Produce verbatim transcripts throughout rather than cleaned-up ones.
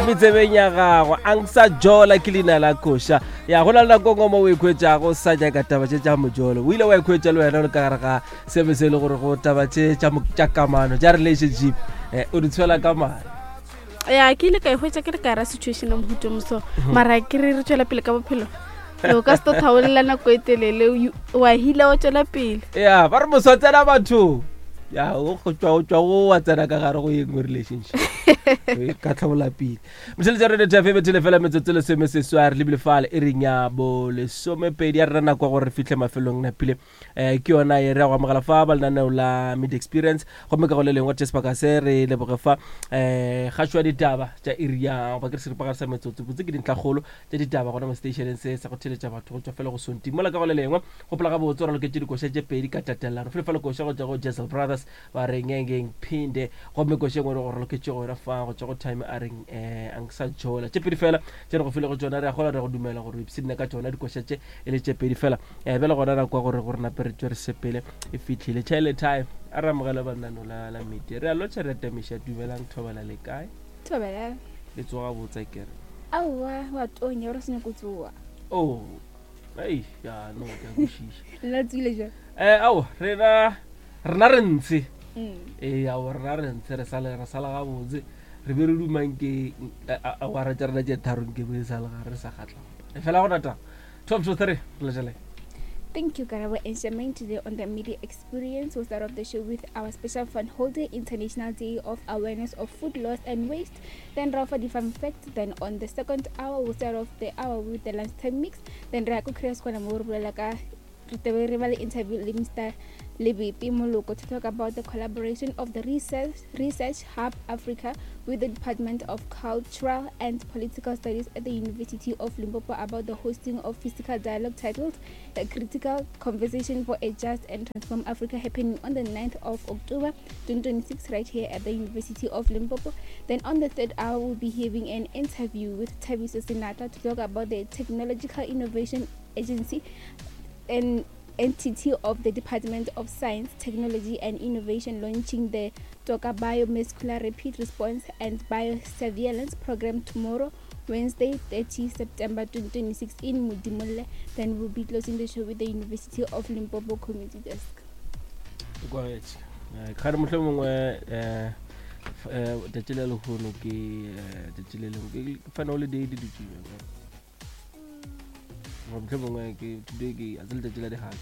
Metsebeng ya gagwe Angsa Jola ke leina la koša ya go na le nako ngwe mo o ikhwetšago sa nyaka taba tše tša mojolo o ile wa ikhwetša le wena o le ka gare ga sebe se e le gore go taba tše tša kamano tša relationship um o di tshwela ka mare. Ya ke ile ka ihwetša ke le ka ra situation ya mohuta moso mara ke re re tšwela pele ka bophelo o ka se to thaolela nako e telele wa hila wa tšwela pele. Ya ba re moso tsena batho ya o go tswa o tswa o wa tsena ka gare go ye nngwe relationship ka tlhabola pele. Motheletša Radio T F M bethele fela metsotso lesome seswai re lebile fale e reng ya bo lesomepedi ya rena nako ya gore re fihle mafelong napile um ke yona e re ya go amogela fa ba lenaneo la Media Experience gomme ka go le lengwe tše sebaka se re leboge fa um kgašo ya ditaba tša iri ya goba ke re seripagare sa metsotso botse ke dintlhakgolo tša ditaba gona mo stationeng se sa go theletša batho go tšwa fela go sonti mola ka go le lengwe gopola gabotse o raloketše dikoša tše pedi ka tatelano fele fa le koša go tšwa go Jessel Brothers ba re ngengeng phinde gomme koša engwe re go raloketše gona fa go tšwa go Time a reng um Angsa Jola tše pedi fela tše re go file go tšona re a gola re go dumela gore o ipshinne ka tšona dikoša tše e le tše pedi fela um bjale gona nako ya gore gore nape re tšwe re sepele e fihlile tšhaele time a re amogele banano la la media re a lotšha re atamiša dumelang thobela le kae thobela le tsoga botsa kere aowa wa tonya re se go tsoa oh ei ya no ke a kwešiša nna tswile jang eh ao rena rena re ntse ee ao rena re ntse re sale re sala gabotse re be re dumang ke awara tša rena tše tharong ke be sa le gare re sa kgatla e fela gona taba twelve to three re letšeleng. Thank you, Karabo and Charmaine. Today on the Media Experience, we'll start off the show with our special fun holiday, International Day of Awareness of Food Loss and Waste. Then Rafa the fun fact. Then on the second hour, we'll start off the hour with the lunchtime mix. Then Rako Krias Kwana Murulaka interview with Mister Lebepe Moloko to talk about the collaboration of the Research, Research Hub Africa with the Department of Cultural and Political Studies at the University of Limpopo about the hosting of physical dialogue titled A Critical Conversation for a Just and Transform Africa, happening on the ninth of October twenty twenty-six right here at the University of Limpopo. Then on the third hour, we'll be having an interview with Thabiso Senata to talk about the Technological Innovation Agency and entity of the Department of Science, Technology and Innovation launching the Toka Biomuscular Rapid Response and Biosurveillance Program tomorrow, Wednesday, thirtieth September twenty twenty-six in Modimolle. Then we'll be closing the show with the University of Limpopo Community Desk. Kgare mohlomongwe eh tšatši le lehono ke tšatši le lengwe ke fana holiday di dutše mohlomongwe ke today ke a tse letšatši la dihaki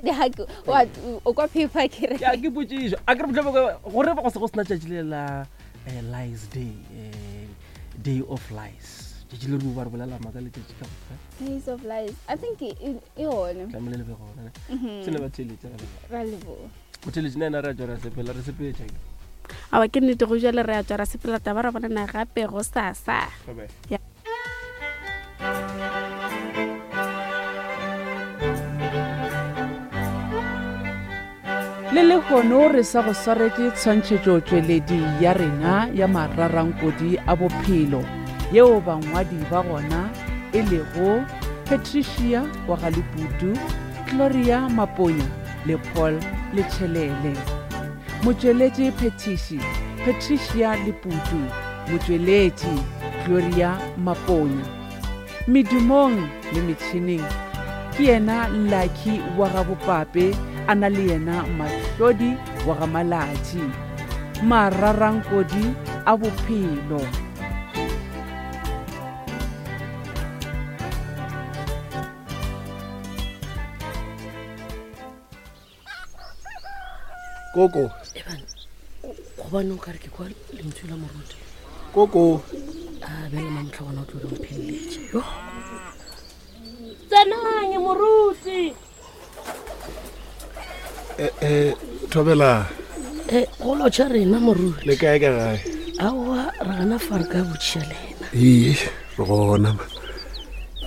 dihaki wa o kwa paper ke re ya ke potšišo a ke re mohlomongwe gore go se go sena tšatši le la Lies Day, eh, Day of Lies tšatši le re ba re bolela maka letšatši ka moka Days of Lies I think e gone tlamehile le be gona se le ba theletše ra leboga motheletše nna re a tšwa ra sepela re sepetša awa ke nnete go jale re a tšwa ra sepela taba ra bonana gape go sasa. Bye-bye. Le lehono re sa go swaretše tshwantšhetšotšweledi ya rena ya mararankodi a bophelo yeo bangwadi ba gona e lego Patricia wa Galeputu, Gloria Maponya le Paul Letšhelele. Motšweletši phetiši Patricia Leputu, motšweletši Gloria Maponya. Medumong le metšhineng ke yena Lucky wa Gabopape a na le yena Mahlodi wa ga Malatši. Mararankodi a bophelo. Koko. Eban, gobane o kare ke kwa lentswe la moruti. Koko. A bjale mamohla gona o tlo re mpheleletše. Yo. Tsenang moruti. Eh eh thobela. Eh go lotšha rena moruti. Le kae ka gae? Aowa re gana fa re ka botšiša lena. Ee, re gona.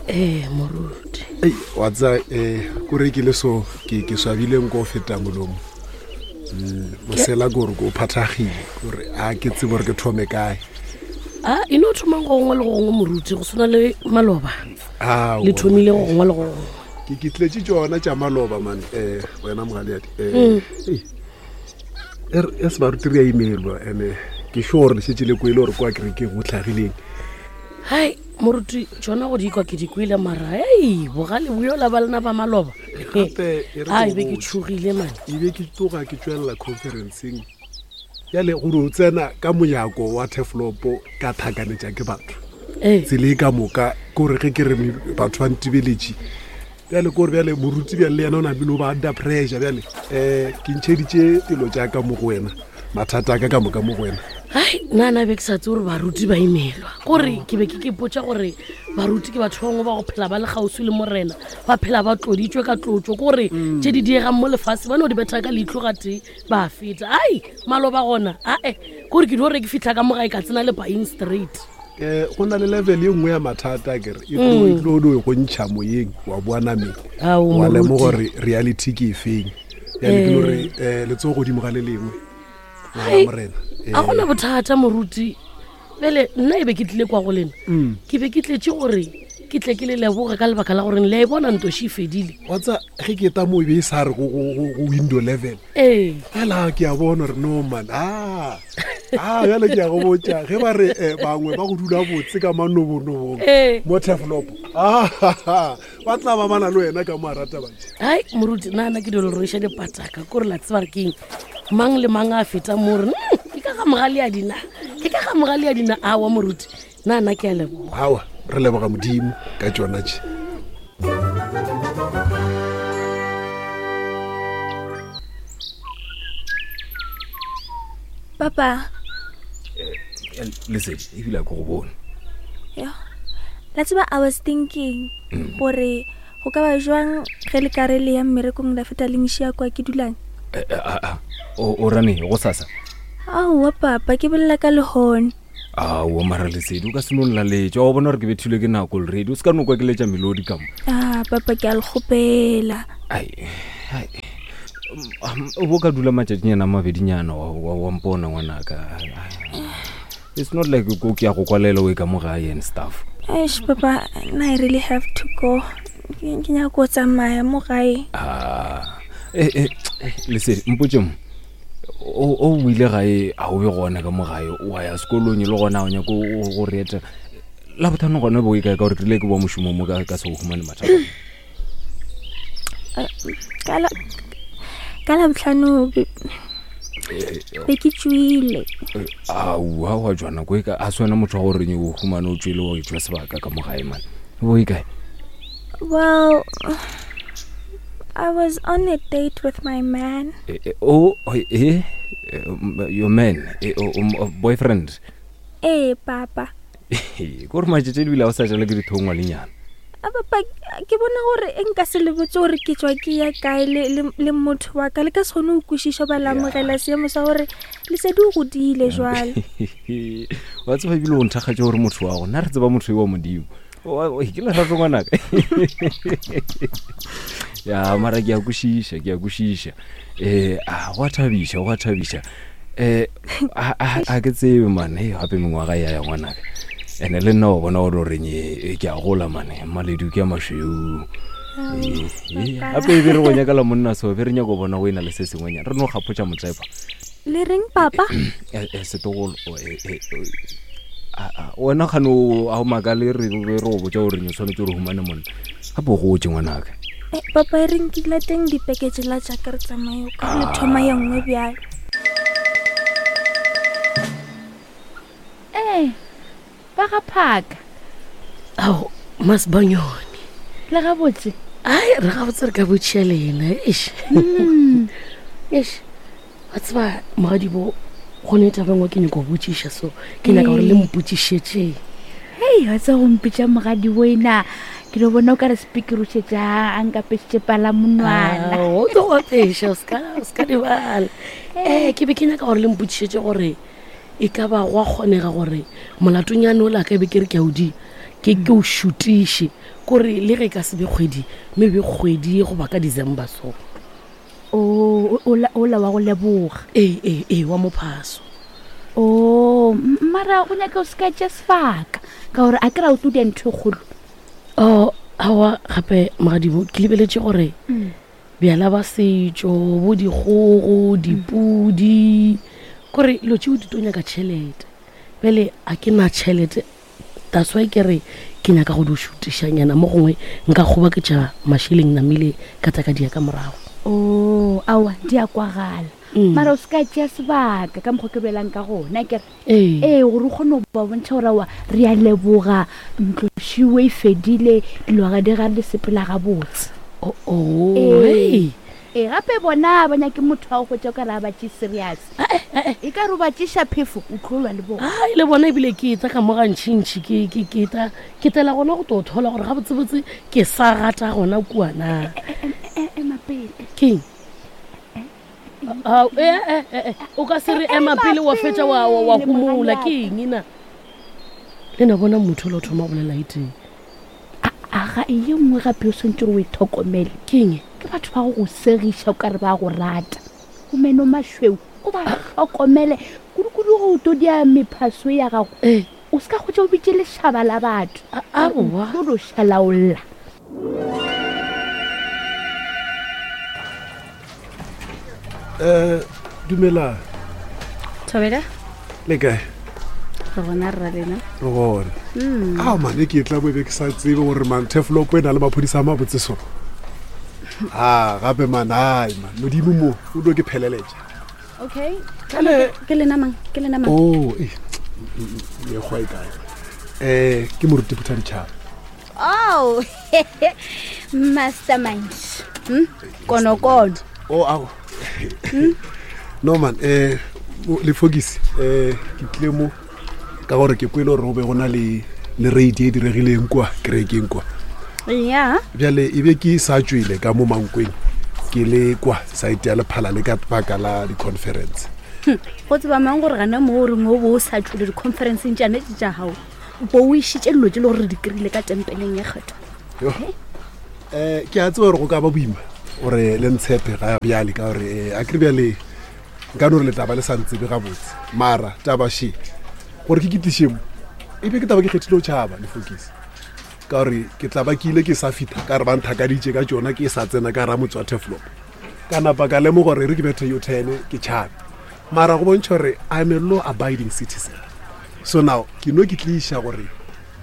Eh moruti. Ei, wa tseba eh ko rekile so ke ke swabile nko feta molomo. Mosela gore ko phathagile gore a ke tsebe gore ke thome kae. A e no thomang go gongwe le go gongwe moruti go swana le maloba. A le thomile go gongwe le go gongwe. Ke ke tletše tšona tša maloba man eh wena mogaleadi eh er e se baruti re a emailwa ene ke Ke sure le šetše le kwele gore kwa kerekeng go tlhagileng. Hai moruti tsona go di kwa ke di kwele mara ei bogale boyola ba lena ba maloba. Gape e re Ai ke be go ke botše. tšhogile mane. E be ke tloga ke tswelela conferenceng. Bjale gore o tsena ka monyako wa Turfloop ka thakanetša ke batho. Ee. Tsela e ka moka ke gore ge ke re me- batho ba ntebeletše. Bjale ke gore bjale moruti bjale le yena o napile o ba under pressure bjale. Um ke ntšheditše dilo tša ka mo go wena, mathata a ka ka moka mo go wena. Hai nna na be ke sa tse gore baruti ba imelwa. Kore ke be ke ke ipotša gore baruti ke batho ba bangwe ba go phela ba le kgauswi le morena, ba phela ba tloditšwe ka tlotšo, kore tše di diegang mo lefase ba no di betha ka leihlo gate ba feta. Ai maloba gona ae kore ke dio re ke fitlha ka mo gae ka tsena le buying straight. Um go na le level e nngwe ya mathata kere e tlo e tlo no go ntšha moyeng wa boa nameng. Ao, Wa lemoga moruti. gore reality ke efeng. Bjale ke no re um letsogo godimo ga le lengwe. Ngwana Hai, morena. a gona bothata moruti. Bjale nna e be ke tlile kwa go lena, Mm. ke be ke tletse gore ke tle ke le leboge ka lebaka la gore le a e bona ntoši e fedile. Wa tsa ge ke eta mo e be e sa re go- go go- go window level. Ee. Fela ke a bona gore no man, ah, ah, bjale ke a go botša ge ba re eh, bangwe ba go dula botse ka manobonobong Ee. mo Turfloop, ah, ba tla ba bana le wena ka mo a rata batše. Hai moruti nna ke dilo rweša dipataka kore la tseba re keng mang le mang a feta mo re "Mm, ke ka ga mogale a dina, ke ka ga mogale a dina." Awa moruti nna nna ke a leboga. Aowa, re leboga Modimo ka tšona tše. Papa. Lesedi ebile a ke go bone. Yo. La tseba I was thinking gore go ka ba jwang ge le ka re le ya mmerekong la feta le nšia kwa ke dulang. Eh, eh, ah, ah. O o rane go sasa? Aowa papa, ke bolela ka lehone. Aowa mara Lesedi o ka se no nlaletša, wa bona gore ke bethilwe ke nako already, o se ka no kwa ke letša melodi ka mo. Ah papa, ke a le kgopela. Ai, ai. Um, o bo ka dula matšatšinyana a mabedinyana wa, wa, wa mpona ngwanaka. Ai, ai. It's not like ko ke ya go kwalela o e ka mo gae and stuff. Eish papa, nna I really have to go. Ke ke nyaka go tsamaya mo gae. Ah, eh, eh, eh, Lesedi mpotše mo. O o ile gae a o be gona ka mo gae, wa ya sekolong e le gona o nyako o go re etela. La bothano gona bo e kae ka gore ke rile ke boa mošomong mo ka ka se go humane mathata. Ka la ka Labohlano be be ke tšwile. Aowa wa jwana ko e ka a se wena motho wa gore o humane o tswele wa etšwa sebaka ka mo gae man. Bo e kae? Well, I was on a date with my man. Eh, eh, oh, oh, eh, eh, um, your man, eh, oh, um, oh, boyfriend. Ee papa. Ke gore matšatši ebile a o sa jala ke dithongwa lenyana. A papa, ke bona gore e nka se le botse gore ke tswa ke ya kae le, le, le motho wa ka, le ka se kgone go kwešiša ba la amogela seemo sa gore Lesedi o godile jwale. Wa tseba ebile o nthakgatše gore motho wa go nna re tseba motho yo wa Modimo. Wa- wa- ke lerato ngwanaka. Ya mara ke a kwešiša, ke a kwešiša. Eh, a go a thabiša, go a thabiša. Eh, a a- a ke tsebe man, hei gape mengwaga ya ya ngwanaka. Ene le nna wa bona gore o reng eh, ke a gola mane, maledu ke a mašweu. Eh, eh, gape e be re go nyakela monna so, be re nyaka go bona go ena le se sengwenyana, re no kgapotša motsepa. Le reng papa? Eh, eh, setogolo o, eh, eh, o, a- a, wena kgane o a o makale re be re go botša gore o tshwanetse gore o humane monna gape o gotse ngwanaka. Eh, papa e reng ke lateng dipeketše la jaaka re tsamaye o ka re le thoma ye nngwe bjalo. Ee, ba ga phaka. Ao Masibanyoni. Le gabotse? Ai re gabotse re ka botšhia lena eish. Eish. Wa tseba mogadibo go ne taba e nngwe ke nyaka go botšiša so ke nyaka gore le mpotšišetše. Hei, wa tseba go mpitša mogadibo ena, ke no bona o ka re speaker o šetše a nkapešitše palamonwana. Ao, o tlo go apeša, o ska- o ska lebala. Ee, ke be ke nyaka gore le mpotšišetše gore e ka ba go a kgonega gore molatonyane o la ka e be ke re ke a o di ke ke o šutiše, kore le ge e ka se be kgwedi mme be kgwedi goba ka December so. O, o, ola, ola wa go leboga. Ee, ee, ee, wa mophaso. O, m- mara o nyaka o se ka tša sebaka ka gore a ke ra o tlo dia ntho e kgolo. Oh, aowa gape mogadibo ke lebeletše gore Mm. bjala ba setšo bo dikgogo dipudi Kore dilo tšeo di to nyaka tšhelete. Bjale a ke na tšhelete, that's why ke re ke nyaka go di šutišanyana mo gongwe nka kgoboketša mašeleng namile ka tla ka dia ka morago. O aowa, di a kwagala. Mm. Mara o se ka tšea sebaka ka mokgwa ke bolelang ka gona kere. Ee. Ee, gore o kgone go ba bontšha gore aowa re a leboga, ntlošiwe e fedile, dilo ga di ga le sepela gabotse. Oh, oh, Ee. hey. Ee, gape bona ba nyake motho wa go hwetša o ka re a ba tšee serious. E ka re o ba tšeša phefo, o tlo lwa le bona. Ai, le bona ebile ke etla ka mo gantšintši, ke, ke, ke tla, ke tlela gona go tlo thola gore gabotsebotse ke sa gata gona kua na. Ema pele. Keng? Ao, eh, eh, eh, eh, o ka se re ema pele wa fetša wa, wa, wa pele, homola, mogadingaka. ke eng na? Le na bona motho o le o thoma go bolela e teng. Aga, ye nngwe gape o swantse gore o e tlhokomele. Ke eng? Ke batho ba go go segiša o ka re ba go rata. O meno mašweu, o ba tlhokomele. Kudu-kudu go to dia mephaso ya gago. Ee. O se ka hwetša o bitše lešaba la batho. Aowa. O tlo šalaolla. Um dumela. Thobela? Le kae? Re gona rra lena. Re gona. Mm. Ao mane ke tla bo be ke sa tsebe gore man Turfloop e na le maphodisa a mabotse so. A gape man, ai man, modimo mo o tlo ke pheleletša. Okay. Ke lena mang? Ke lena mang? Oh, eh, mekgwa e kae? Eh, ke moruti Phuthaditjhaba. Oh, mastermind. Hmm? Konokono. Oh, ao. No man, eh lefokisi, eh ke tlile mo ka gore ke kwele gore go be go na le le raid e diregileng kwa kerekeng kwa. Ya. Bjale e be ke sa tšwele ka mo Mankweng, ke le kwa site ya Lephala le ka baka la di-conference. Hm, go tseba mang gore gana mo o reng o bo o sa tšwele di-conferenceng tšane tše tša gago, bo o išitše dilo tše le gore re di kry-ile ka tempeleng ya kgethwa. Yo. Eh ke a tseba gore go ka ba boima gore le ntshepe ga bjale ka gore eh, a kere bjale nka no re le taba le sa ntsebe gabotse, mara taba še gore ke ke tliše mo e be ke taba ke kgethile go tšhaba lefokisi ka gore ke tla ba ke ile ke sa fitha ka re ba nthakaditše ka tšona ke sa tsena ka ra motse wa Turfloop, ka napa ka lemoga gore e re ke bethe yo ten ke tšhabe, mara go bontšha gore I'm a law abiding citizen. So now ke no ke tliša gore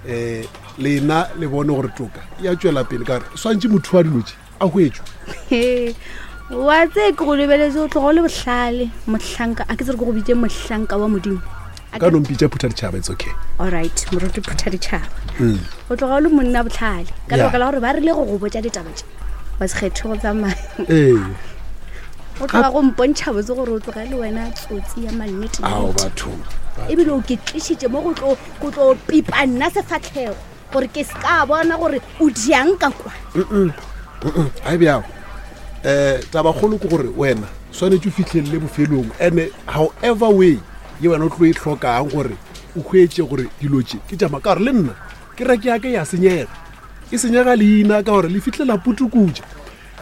um lena le bone gore toka ya tšwela pele ka gore swantše motho wa dilo tše a hwetšwe. Wa tse ke go lebeletse o tloga o le bohlale mohlanka, a ke tsere ke go bitše mohlanka wa modimo. O ka no mpitša Phuthaditjhaba, it's okay. Alright, moruti Phuthaditjhaba. Mm. O tloga o le monna bohlale ka Yeah. lebaka la gore ba rile go go botša ditaba tše wa se kgethe go tsamaya. Ee. O tloga go mpontšha botse gore o tloga le wena tsotsi ya mannete. Ao batho. Ebile o ke tlišitše mo go tlo go tlo pipa nna sefatlhego gore ke se ka bona gore o diang ka kwa. Mm-mm. Mm-mm. Ha e bjao. Eh tabakgolo ke gore wena swanetše o fihlelele bofelong, and however way ye wena o tlo e hlokang gore o hwetše gore dilo tše ke tša maka, gore le nna kereke ya ka ya senyega, e senyega leina ka gore le fihlela putukutša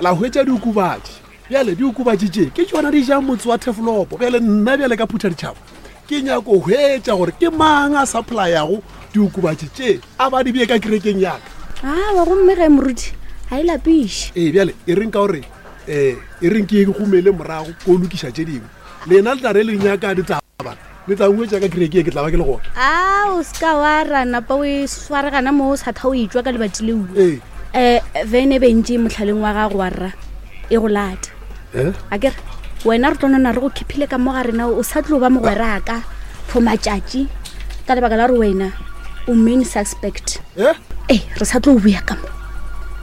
la hwetša diokobatši. Bjale diokobatši tše ke tšona di jang motse wa Turfloop. Bjale nna bjale ka Phuthaditjhaba ke nyako hwetša gore ke mang a supplyago diokobatši tše a ba di bee ka kerekeng ya ka. Awa, gomme ge moruti ga e lapiše. Ee, bjale e reng ka gore um e reng ke gomele morago ko lokiša tše dingwe, lena le tla re le nyaka ditaba le tla ngwetša ka kereke e ke tla ba ke le gona. A o se ka wa ra napa o e swaregana mo o sa tha o etšwa ka lebati leo. Ee. Um vene bentše motlhaleng wa gago wa rra e go lata. Eh? A kere wena re tlo nona re go khiphile ka mo ga rena, o sa tlo ba mogweraka for matšatši ka lebaka la gore wena o main suspect. Eh? Ee, re sa tlo o boya ka mo.